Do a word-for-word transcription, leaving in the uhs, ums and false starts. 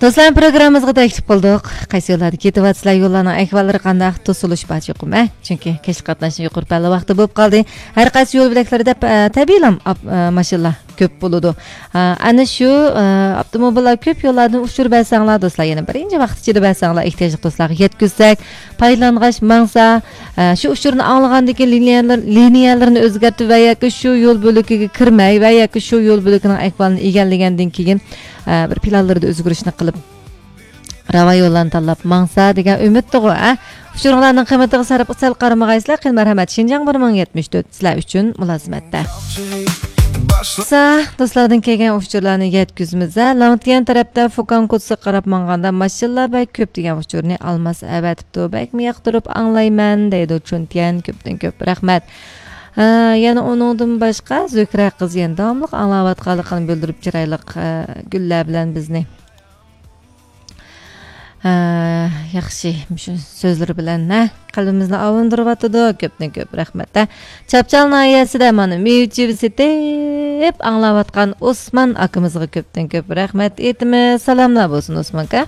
دوستلار، پروگراممىمىزغا تەكلىپ قىلدۇق. قايسى يوللاردا كېتىۋاتىسىلەر، يوللارنىڭ ئەھۋاللىرى قانداق، توسۇلۇش بار چوقۇم، ھە؟ چۈنكى كەچلىك قاتناشنىڭ يۇقىرى پەللە ۋاقتى بولۇپ قالدى. ھەر قايسى يول بۆلەكلىرى دەپ، ئە، تەبىئىيلا ئاپ-، ئە، ماشىنىلار كۆپ بولىدۇ. ئە، ئەنە شۇ، ئە، ئاپتوموبىللار كۆپ يوللاردىن ئۇچۇر بەرسەڭلار، دوستلار، يەنە بىرىنچە ۋاقىت ئىچىدە بەرسەڭلار، ئېھتىياجلىق دوستلارغا يەتكۈزسەك، پايدىلانغاچ ماڭسا، ئە، شۇ ئۇچۇرنى ئاڭلىغاندىن كېيىن لىنىيەلەر-، لىنىيەلىرىنى ئۆزگەرتىپ ۋە ياكى شۇ يول بۆلىكىگە كىرمەي ۋە ياكى شۇ يول بۆلىكىنىڭ ئەھۋالىنى ئىگىلىگەندىن كېيىن، ئە، بىر پىلانلىرىدا ئۆزگىرىشنى قىلىپ، راۋان يوللارنى تاللاپ ماڭسا دېگەن ئۈمىدتىغۇ، ئە؟ ئۇچۇرۇڭلارنىڭ قىممىتىغا سەل، سەل قارىمىغايسىلەر، قېنى مەرھەمەت. شىنجاڭ بىر مىڭ يەتمىش تۆت سىلەر ئۈچۈن مۇلازىمەتتە. سا، دوستلاردىن كەلگەن ئۇچۇرلارنى يەتكۈزىمىز، ھە. لاڭتيەن تەرەپتە فۇكاڭ كوتسىغا قاراپ ماڭغاندا ماشىنىلار بەك كۆپ دېگەن ئۇچۇرنى ئالماس ئەۋەتىپتۇ. بەكمۇ ياقتۇرۇپ ئاڭلايمەن، دەيدۇ چۈنتيەن. كۆپتىن كۆپ رەھمەت. ھە، يەنە ئۇنىڭدىن باشقا زۆھرە قىز يەنە داۋاملىق ئاڭلاۋاتقانلىقىنى بىلدۈرۈپ، چىرايلىق، ھە، گۈللەر بىلەن بىزنى. ھە، ياخشى، مۇشۇ سۆزلىرى بىلەن، ھە، قەلبىمىزنى ئاۋۇندۇرۇۋاتىدۇ. كۆپتىن كۆپ رەھمەت، ھە. چاپچال ناھىيەسىدە مانا مېۋە چىۋىسى تېپ ئاڭلاۋاتقان ئوسمان ئاكىمىزغا كۆپتىن كۆپ رەھمەت ئېيتىمىز. سالاملار بولسۇن، ئوسمان ئاكا.